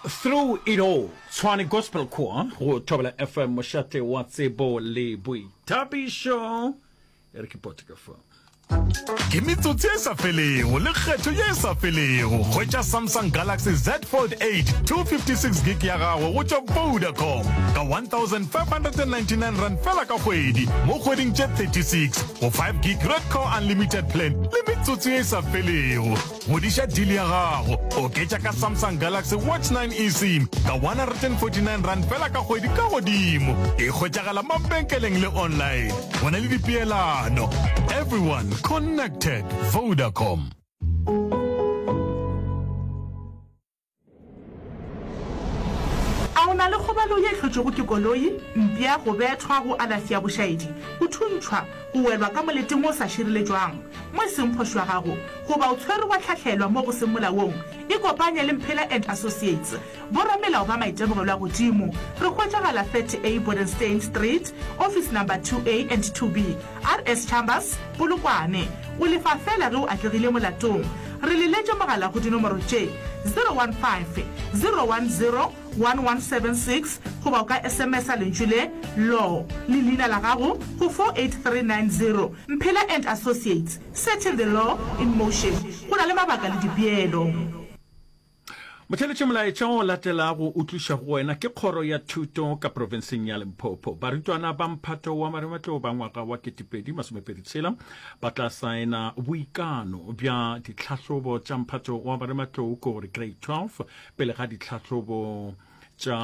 Through it all, Tshwane Gospel Choir go Thobela FM, mošate wa tsebo le boithabišo. E re ke pote ka fa. Ke metsotso ye sa felego le kgetho ye e sa felego. Hwetša Samsung Galaxy Z Fold 8 256 gig ya gago go tšwa Vodacom ka R1599 fela ka kgwedi mo kgweding tše 36 go 5 gig Redco Unlimited plan le metsotso ye e sa felego. Godiša deal ya gago, oketša ka Samsung Galaxy Watch 9 eSIM ka R149 fela ka kgwedi ka godimo. E hwetšagala mabenkeleng le online. Go na le dipeelano. Everyone connected. Vodacom. A o na le kgobalo ye e hlotšwego ke koloi, mpša, go bethwa, go alafi ya bošaedi, go thuntšhwa, go welwa ka moleteng wo o sa šireletšwang, mo e seng phošo ya gago, goba o tshwerwe wa hlahlelwa mo go seng molaong? Ikopanye le Mphela and Associates, boramelao ba maitemogelo a godimo. Re hwetšagala 30A Bodenstein Street, Office Number 2A and 2B, RS Chambers, Polokwane. O lefa feela ge o atlegile molatong. Re leletše mogala go dinomoro tše, 015 010 1176 goba o ka SMS-a lentšu le, Law, le leina la gago go 48390. Mphela and Associates, setting the law in motion. Go na le mabaka le dipeelo. Motheeletši molaetša o latelago o tlišwa go wena ke Kgoro ya Thuto ka profenseng ya Limpopo. Barutwana ba mphato wa marematlou ba ngwaga wa 2026 ba tla saena boikano bja ditlhahlobo tša mphato wa marematlou ko gore grade 12 pele ga ditlhahlobo tša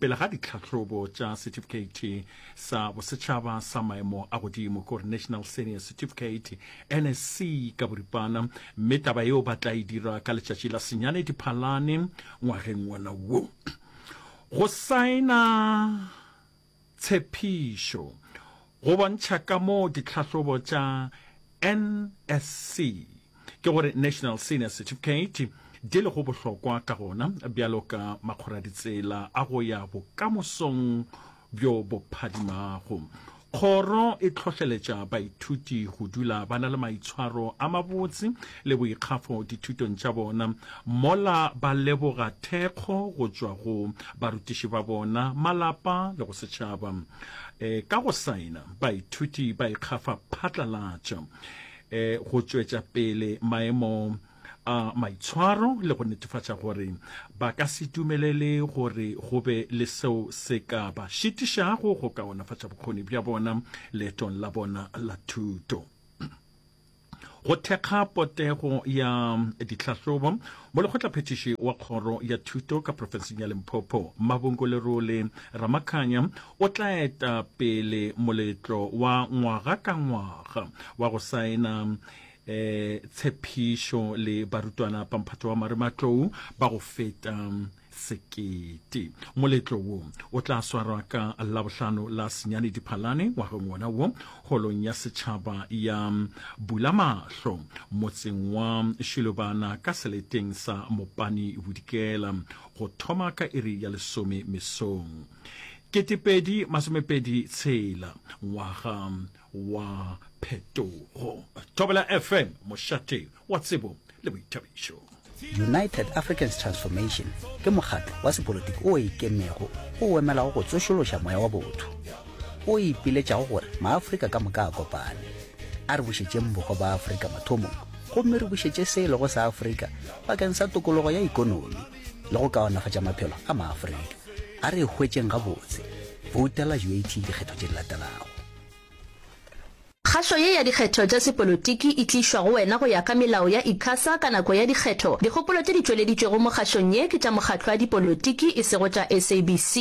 pele ga ditlhahlobo tša setifikeiti sa bosetšhaba sa maemo a godimo ke gore National Senior Certificate NSC ka boripana mme taba yeo ba tla e dira ka letšatši la senyane Diphalane ngwageng wona wo. Go saena Tshepišo, Go bontšha kamoo ditlhahlobo tša NSC, ke gore National Senior Certificate, di lego bohlokwa ka gona bjalo ka makgoraditsela a go ya bokamosong bjo bo phadimago. Kgoro e hlohleletša baithuti go dula ba na le maitshwaro a mabotse le boikgafo dithutong tša bona, mola ba leboga thekgo go tšwa go barutiši ba bona, malapa le go setšhaba. E, ka go saena, baithuti ba ikgafa phatlalatša e, go tšwetša pele maemo a maitshwaro le go netefatša gore ba ka se dumelele gore go be le seo se ka ba šitišago go kaonafatša bokgoni bja bona leetong la bona la thuto. Go thekga potego ya ditlhahlobo, Molekgotlaphethiši wa Kgoro ya Thuto ka profenseng ya Limpopo, Mabungo Lerole Ramakhanya, o tla eta pele moletlo wa ngwaga ka ngwaga wa go saena eh, tshepišo le barutwana ba mphato wa marematlou ba go feta sekete. Moletlo wo o tla swarwa ka Labohlano la senyane Diphalane ngwageng wona wo holong ya setšhaba ya Bulamahlo motseng wa Shilobana ka seleteng sa Mopani Bodikela go thoma ka iri ya lesome mesong. 2026 ngwaga wa phetogo. Thobela FM, mošate wa tsebo le boithabišo. United Africans Transformation ke mokgatlo wa sepolotiki o ikemego o emelago go tsošološa moya wa botho, o ipiletšago gore maAfrika ka moka a kopane. A re bušetšeng bohwa ba Afrika mathomong gomme re bušetše se e lego sa Afrika bakeng sa tokologo ya ikonomi le go kaonafatša maphelo a maAfrika. A re e hwetšeng gabotse. Boutela UAT dikgetho tše di latelago. Kgašo ye ya dikgetho tša sepolotiki e tlišwa go wena go ya ka melao ya ICASA ka nako ya dikgetho. Dikgopolo tše di tšweleditšwego mo kgašong ye ke tša mokgatlo wa dipolotiki e sego tša SABC.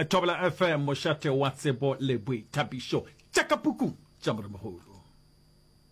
Thobela FM, mošate wa tsebo le boithabišo. Tša ka pukung tša Moremogolo.